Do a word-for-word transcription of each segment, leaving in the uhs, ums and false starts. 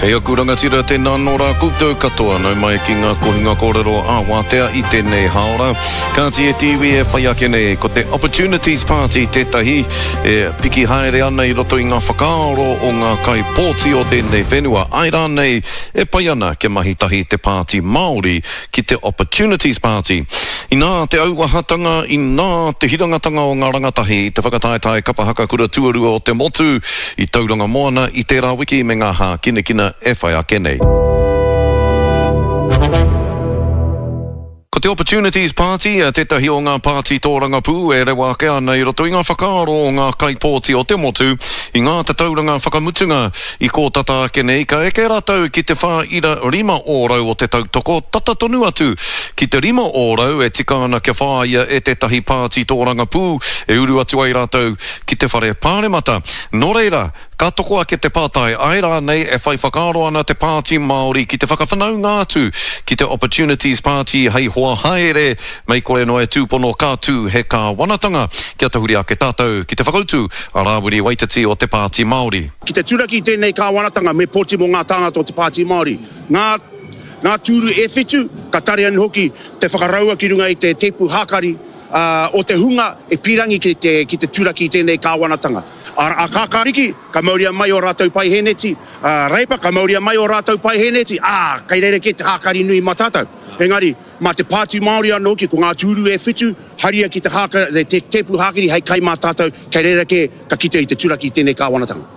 Kei aku rangatira tēnā nō rā koutou katoa nau mai ki ngā kohinga kōrero ā wātea i tēnei hāora. Kāti e te iwi e whai ake nei, ko te Opportunities Party tētahi e piki haere ana i roto i ngā whakaaro o ngā kaipōti o tēnei whenua. Āe rānei e pai ana kia mahi tahi te Pāti Māori ki te Opportunities Party. Inā te auahatanga, inā te hirangatanga o ngā rangatahi i te whakataetae kapa haka kura tuarua o te motu i Tauranga Moana i tērā wiki me ngā hākinakina e whai ake nei. Ko te Opportunities Party, tētahi o ngā pāti tōrangapū e rewa ake ana i roto i ngā whakaaro o ngā kaipōti o te motu i ngā tatauranga whakamutunga i kō tata ake nei, ka eke rātou ki te whā ira rima ōrau o te tautoko, tata tonu atu ki te rima ōrau e tika ana kia whāia e tētahi pāti tōrangapū e uru atu ai rātou ki te whare pāremata. Nō reira, ka toko ake te pātai, āe rānei e whai whakaaro ana te Pāti Māori ki te whakawhanaunga atu ki te Opportunities Party hei hoa haere, mei kore noa e tūpono ka tū he kāwanatanga. Kia tahuri ake tātou ki te whakautu a Rāwiri Waititi o te Pāti Māori. Ki te turaki i tēnei kāwanatanga me pōti mō ngā tāngata o te Pāti Māori. Ngā, ngā tūru e whitu, ka tare anō hoki te whakaraua ki runga i te tēpu hākari, o te hunga e pīrangi ki te, ki te turaki i tēnei kāwanatanga. A, a Kākāriki, ka mauria mai ō rātou paihēneti, a Reipa, ka mauria mai ō rātou paihēneti, ā, kei reira kē te hākari nui mā tātou. Engari, mā te Pāti Māori anō hoki, ko ngā tūru e whitu, haria ki te, hāka, te tēpu hākari hei kai mā tātou, kei reira kē ka kite i te turaki i tēnei kāwanatanga.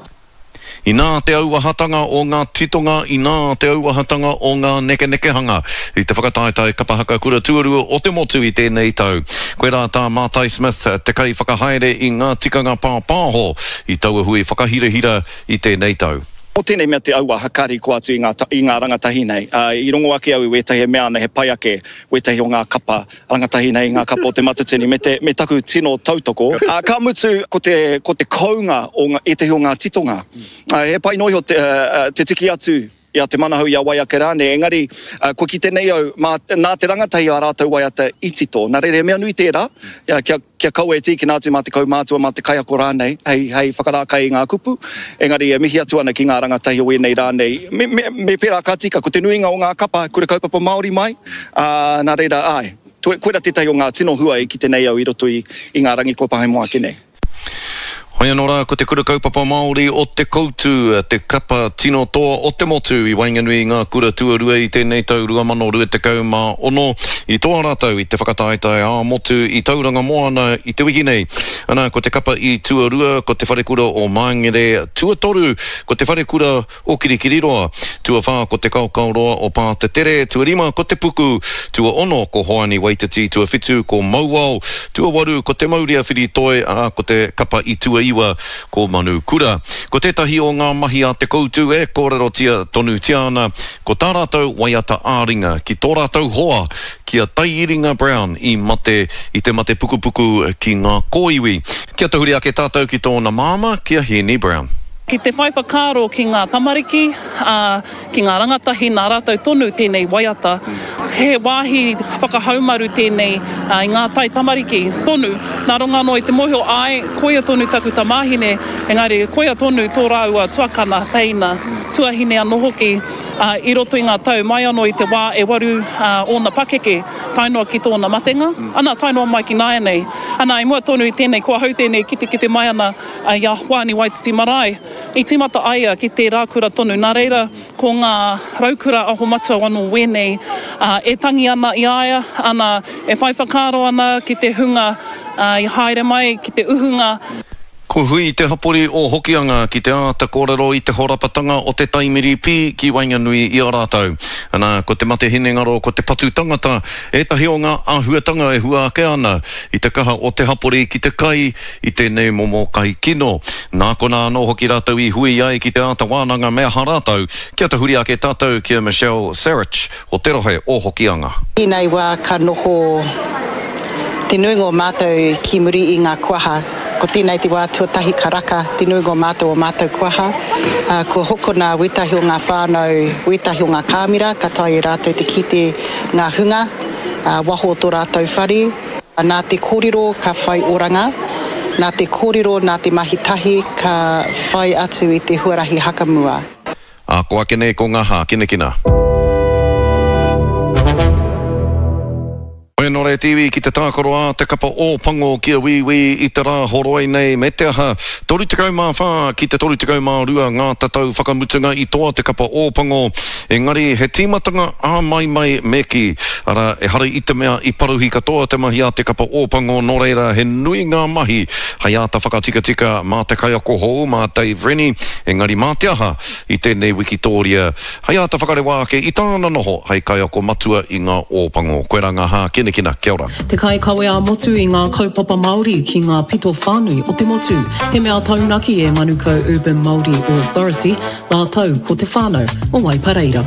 Inā te auahatanga o ngā titonga, inā te auahatanga o ngā nekenekehanga i te whakataetae kapa haka kura tuarua o te motu i tēnei tau. Koirā tā Mātai Smith, te kaiwhakahaere i ngā tikanga pāpāho i taua hui whakahirahira i tēnei tau. Ko tēnei mea te auaha ka riko atu i ngā, i ngā rangatahi nei. Uh, i rongo ake au i wētahi e mea ana he pai ake wētahi o ngā kapa rangatahi nei, ngā kapa o Te Matatini, me, te, me taku tino tautoko. Uh, ka mutu ko te, ko te kounga o ngā, ētahi o ngā titonga. Uh, he pai noa iho te, uh, te tiki atu i a Te Manahau, i a wai ake rānei, engari uh, kua kite nei au, mā, nā te rangatahi ā rātou waiata i tito. Nā reira, he mea nui tērā, ia, kia, kia kaua e tīkina atu mā te kaumātua, mā te kaiako rānei, hei, hei whakarākai i ngā kupu, engari e mihi atu ana ki ngā rangatahi o ēnei rā nei. Me, me, me pērā ka tika, ko te nuinga o ngā kapa, kura kaupapa Māori mai, ā, nā reira, āe, koira tētahi o ngā tino hua i kite nei au i roto i, i ngā rangi kua pahemoa ake nei. Hoi anō rā, ko te Kura Kaupapa Māori o Te Koutu te kapa tino toa o te motu i waenganui i ngā kura tuarua i tēnei tau rua mano rua tekau mā ono. I toa rātou i te whakataetae ā-motu i Tauranga Moana i te wiki nei. Ana, ko te kapa i tuarua, ko te Wharekura o Māngere, tuatoru, ko te Wharekura o Kirikiriroa, tuawhā, ko te Kaokaoroa o Pātetere, tuarima, ko Te Puku, tuaono, ko Hoani Waititi, tuawhitu, ko Mauao, tuawaru, ko Te Maurea Whiritoi, ā, ko te kapa i tuaiwa, ko Manu Kura. Ko tētahi o ngā mahi a Te Koutu e kōrerotia tonutia ana, ko tā rātou waiata ā-ringa ki tō rātou hoa, ki a Taiiringa Brown i mate i te mate pukupuku ki ngā kōiwi. Kia tahuri ake tātou ki tōna māmā, ki a Hēni Brown. Ki te whai whakaaro ki ngā tamariki, ā, ki ngā rangatahi nā rātou tonu tēnei waiata. He wāhi whakahaumaru tēnei i ngā tai tamariki tonu. Nā runga anō i te mōhio, āe, koia tonu taku tamāhine, engari koia tonu tō rāua tuakana, teina, tuahine anō hoki, ā, i roto i ngā tau mai anō i te wā e waru ōna pakeke, tae noa ki tōna matenga, ana, tae noa mai ki nāianei. Ana, i mua tonu i tēnei, ko ahau tēnei e kitekite mai ana i a Hoani Waititi Marae. I tīmata a ia ki tērā kura tonu, nā reira ko ngā raukura aho matua anō wēnei e tangi ana i a ia, ana, e whai whakaaro ana ki te hunga i haere mai ki te uhunga. Kua hui te hapori o Hokianga ki te āta kōrero i te horapatanga o te taimiri pī ki waenganui i a rātou. Ana, ko te mate hinengaro, ko te patu tangata ētahi o ngā āhuatanga e hua ake ana i te kaha o te hapori ki te kai i tēnei momo kai kino. Nā konā anō hoki rātou i hui ai ki te āta wānanga me aha rātou, kia tahuri ake tātou ki a Michelle Sarich o te rohe o Hokianga. Ēnei wā ka noho te nuinga o mātou ki muri i ngā kuaha. Ko tēnei te wā tuatahi ka raka te nuinga o mātou o mātou kuaha. Kua hokona wētahi o ngā whānau, wētahi o ngā kāmera, ka taea e rātou te kite ngā hunga waho o tō rātou whare. Nā te kōrero ka whai oranga, nā te kōrero, nā te mahi tahi ka whai atu i te huarahi hakamua. Ā, ko ake nei ko ngā hākinakina. Hoi anō rā te iwi ki te tākaro a te kapa Ōpango ki a Wīwī i te rā horoi nei me te aha, toru tekau mā whā ki te toru tekau mā rua ngā tatau whakamutunga i toa te kapa Ōpango, engari he tīmatanga āmaimai me kī, arā, ehara i te mea i paruhi katoa te mahi a te kapa Ōpango nō reira he nui ngā mahi hei āta whakatikatika mā te kaiako hou, mā Dave Rennie, engari mā te aha i tēnei wikitōria hei āta whakarewa ake i tāna noho hei kaiako matua i ngā Ōpango. Koirā ngā hākinakina. Kia ora. Te kaikawe ā-motu i ngā kaupapa Māori ki ngā pito whānui o te motu. He mea taunaki e Manukau Urban Māori Authority rātou ko te whānau o Waipareira.